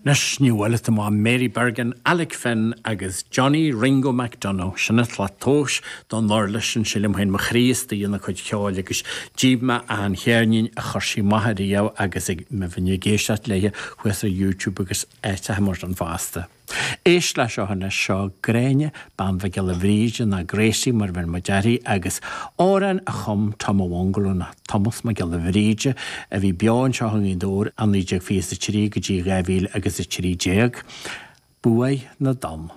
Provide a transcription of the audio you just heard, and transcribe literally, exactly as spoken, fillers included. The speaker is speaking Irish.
Anois ní bhfuil má Mary Bergin, Alec Finn agus Johnny Ringo McDonagh sin an tslat tomhais don uirlis sin sílim féin mo chroí istigh ina cuid ceoil agus jíb me an cheirnín a chuir sí amach riamh agus ag me bhíonn ag éisteacht léithe thuas ar YouTube agus áiteacha mar sin fosta. Éist le seo anois seo Gráinne Bean Mhic Giolla Bhríde ná Gracie mar bheir muid uirthi agus amhrán a chum Tom a' Bhungalow ná Thomas Mac Giolla Bhríde a bhí beo anseo i nGaoth Dobhair i naoi déag fiche a trí go dtí dhá mhíle agus a trí déag. Buaidh na dTonn.